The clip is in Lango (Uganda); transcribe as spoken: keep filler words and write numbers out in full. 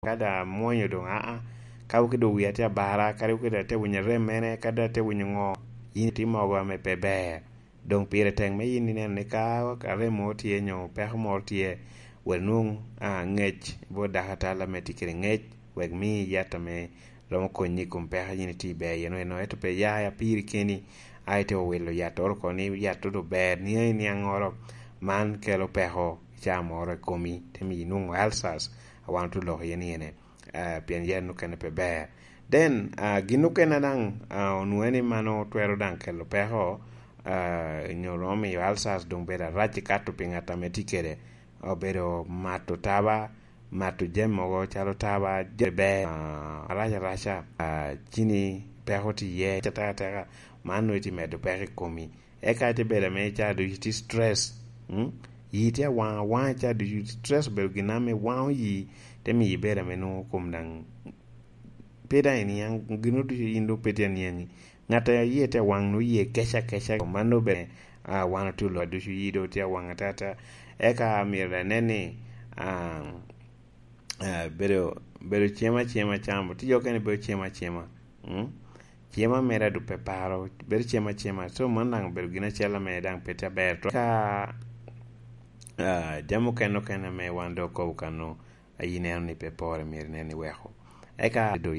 Ka da amwonyo doŋ, aa, ka wok doŋ wia tye abara, kadi wok da te winyo rem mene, kadi da te winyo ŋo, yin itye mogo ame pe ber. Doŋ pire tek me yin ineno ni ka arem moro tye nyo peko moro tye, wel nwoŋ, aa, ngec bot dakatala ame tye kede ngec, wek mi yat ame romo konyi i kom peko a yin itye iber iye-nu eno. Ento pe ya apiri keni, a ite owilo yattoro oko ni yat-to doŋ ber, niaŋ i niaŋŋoro, man kelo peko i caa moro i komi, te miyo inwoŋo ulcers, a wan otye oloko iye ni ene, ah, pien yat mukene pe ber. Then, ah, gin okene daŋ, ah, onwoŋo ni mano twero daŋ kelo peko, ah, nyo romo miyo ulcers doŋ bedo arac i kato pi ŋat ame tye kede, obedo mato taba, mato jami mogo calo taba, jami ber, ah, arac araca, ah, cini peko tye iye, ateka ateka, man nwoŋo tye medo peko i komi. Eka te bedo ame ca ducu tye stress, mm? Yi tye awaŋ awaŋ ca ducu, stress obedo gin ame waŋo yi, te miyo ibedo ame nwoŋo kom daŋ pe daŋ iniaŋ, gin ducu yin doŋ pe tye aniaŋi. Ŋat a yie tye awaŋ nwoŋo yie keca keca, mano bene, ah, wan otye oloc ducu yi doŋ tye awaŋ atata. Eka myero daŋ inen ni, ah, ah, bedo, bedo cem acema camo, tye jo okene bedo cem acema. Mm? Cem amera doŋ pe paro, bedo cem acema. So, man daŋ obedo gin acel ame daŋ pe tye aber. Ka, ah, jami okene okene ame wan doŋ okobo kano, a yin ineno ni pe pore, myero inen ni weko. Eka doŋ